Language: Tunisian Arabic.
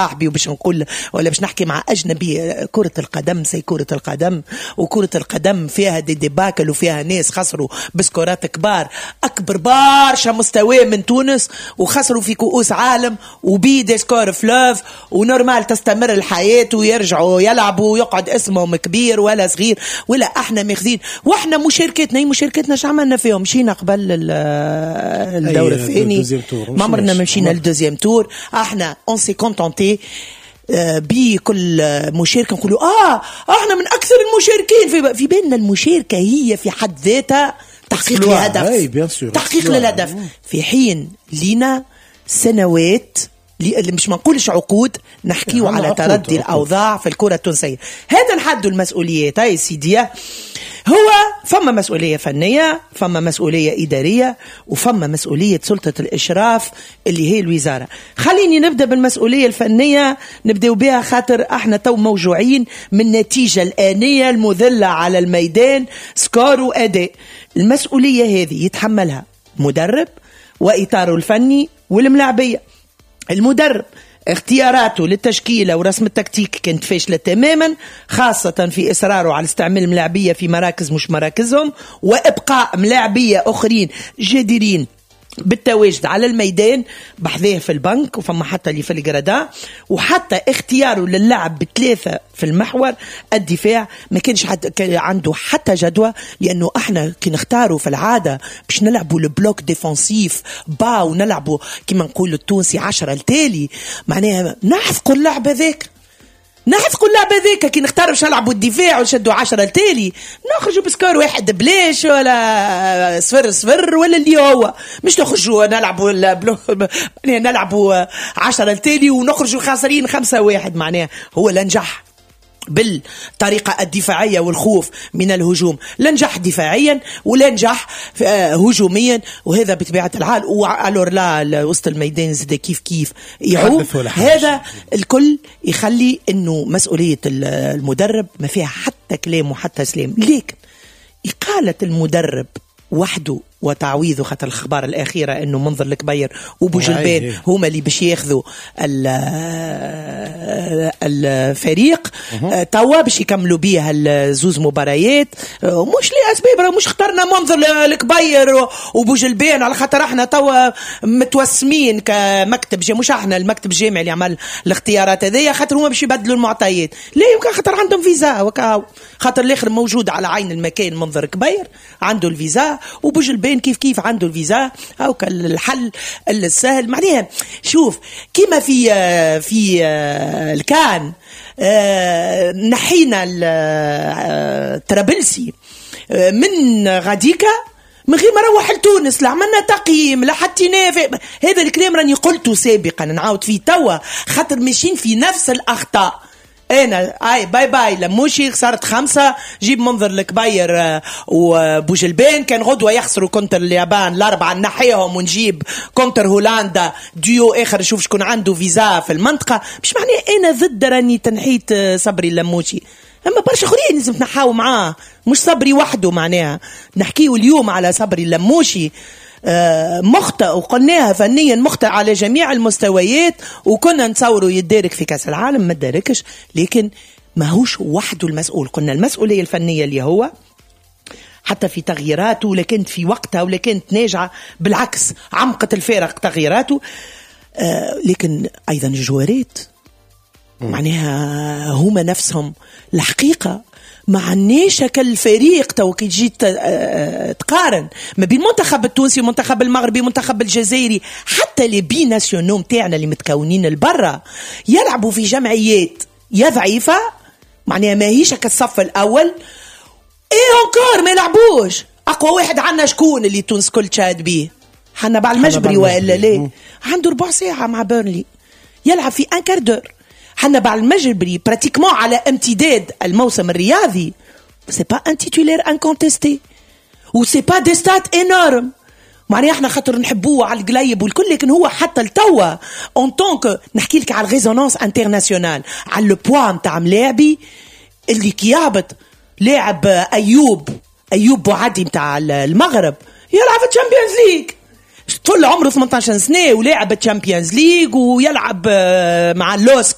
صاحبي وباش نقول ولا باش نحكي مع اجنبي. كره القدم c'est كره القدم، وكره القدم فيها des débâcles وفيها ناس خسروا ب scores ات كبار اكبر برشا مستوى من تونس، وخسروا في كؤوس عالم وب des scores fleuves، و normal تستمر الحياة ويرجعوا يلعبوا ويقعد اسمهم كبير ولا صغير. ولا احنا ماخذين، واحنا مشاركتنا هي مشاركتنا شو عملنا فيهم؟ مشينا قبل الدور الثاني، ما عمرنا ما مشينا لل deuxième tour. احنا on s'est contenté بكل مشاركة نقولوا احنا من اكثر المشاركين. في بالنا المشاركة هي في حد ذاتها تحقيق لهدف، تحقيق للهدف، في حين لينا سنوات مش ما نقولش عقود نحكيو على تردي الاوضاع في الكره التونسية. هذا الحد المسؤوليات هاي سيدي، هو فما مسؤولية فنية، فما مسؤولية إدارية، وفما مسؤولية سلطة الإشراف اللي هي الوزارة. خليني نبدأ بالمسؤولية الفنية، نبدأ بها خاطر احنا تو موجوعين من النتيجة الآنية المذلة على الميدان، score وأداء. المسؤولية هذه يتحملها مدرب وإطاره الفني والملاعبية. المدرب اختياراته للتشكيلة ورسم التكتيك كانت فاشلة تماما، خاصة في إصراره على استعمال ملاعبية في مراكز مش مراكزهم، وإبقاء ملاعبية أخرين جديرين بالتواجد على الميدان بحذاه في البنك، وفما حتى اللي في ال gradins. وحتى اختياره للعب بثلاثة في المحور الدفاع ما كانش عنده حتى جدوى، لأنه احنا كي نختاروا في العادة باش نلعبوا ال bloc défensif bas ونلعبوا كما نقول التونسي 10 التالي، معناها نحفقوا اللعب هذاك، نحفقوا اللعب هذاك. كي نختاروا باش نلعبوا الدفاع ونشدوا 10 التالي نخرجوا ب score 1 بلاش ولا 0-0 ولا اللي هو، مش نخرجوا نلعبوا نلعبوا 10 التالي ونخرجوا خاسرين 5-1. معناها هو لا نجح بالطريقة الدفاعية والخوف من الهجوم، لا نجح دفاعيا ولا نجح هجوميا، وهذا بطبيعة الحال. و alors là وسط الميدان زاد كيف كيف يعوم. هذا الكل يخلي انه مسؤولية المدرب ما فيها حتى كلام وحتى سلام. لكن إقالة المدرب وحده وتعويضه، خاطر الأخبار الأخيرة أنه منظر الكبير وبوجلبان هما اللي باش ياخذوا الفريق توا باش يكملوا بيها الزوز مباريات، مش لأسباب، مش اخترنا منظر الكبير وبوجلبان على خاطر احنا توا متوسمين كمكتب، مش احنا المكتب الجامعي اللي عمل الاختيارات هذيا، خاطر هما باش يبدلوا المعطيات. لا يمكن خاطر عندهم فيزا وكاو، خاطر الاخر موجود على عين المكان منظر كبير عنده الفيزا، وبوجلبان كيف كيف عنده الفيزا، او الحل السهل. معناها شوف كيما في الكان نحينا الترابلسي من غاديكا من غير ما روح لتونس، لا عملنا تقييم لا حطيناه. هذا الكلام راني قلته سابقا نعاود فيه توا، خاطر ماشيين في نفس الاخطاء. انا اي bye bye لموشي خسرت 5، جيب منظر الكبير وبوجلبان، كان غدوه يخسروا contre اليابان الاربعة نحيهم ونجيب contre هولندا ديو اخر، شوف شكون عنده فيزا في المنطقة. مش معناه انا ضد راني تنحيت صبري لموشي، اما برشا اخرين لازم تنحاو معاه، مش صبري وحده. معناها نحكيو اليوم على صبري لموشي مخطئ، وقلناها فنيا مخطئ على جميع المستويات، وكنا نتصوروا يدارك في كأس العالم ما داركش، لكن ماهوش وحده المسؤول. قلنا المسؤولية الفنية اللي هو حتى في تغييراته ولا كانت في وقتها ولا كانت ناجعة، بالعكس عمقت الفارق تغييراته. لكن أيضا الجوارات معناها هما نفسهم الحقيقة ما عناش كالفريق تو كي تجي تقارن ما بين المنتخب التونسي والمنتخب المغربي والمنتخب الجزائري، حتى les binationaux نتاعنا اللي متكونين البرة يلعبوا في جمعيات يا ضعيفة، معناها ماهيش كالصف الأول، et encore ما يلعبوش. أقوى واحد عنا شكون اللي تونس كل تشاهد بيه؟ حنبعل المجبري والا لا؟ عنده ربع ساعة مع بيرنلي يلعب في un quart d'heure. حنبعل المجبري pratiquement على امتداد الموسم الرياضي c'est pas un titulaire incontesté و c'est pas des stats énormes. معناها احنا خاطر نحبوه على القليب والكل، لكن هو حتى لتوا en tant que نحكي لك على ال résonance internationale، على le poids نتاع ملاعبي اللي كي يهبط لاعب ايوب بوعدي نتاع المغرب يلعب في ال Champions League. طفل عمره 18 سنة ولاعب Champions League ويلعب مع اللوسك.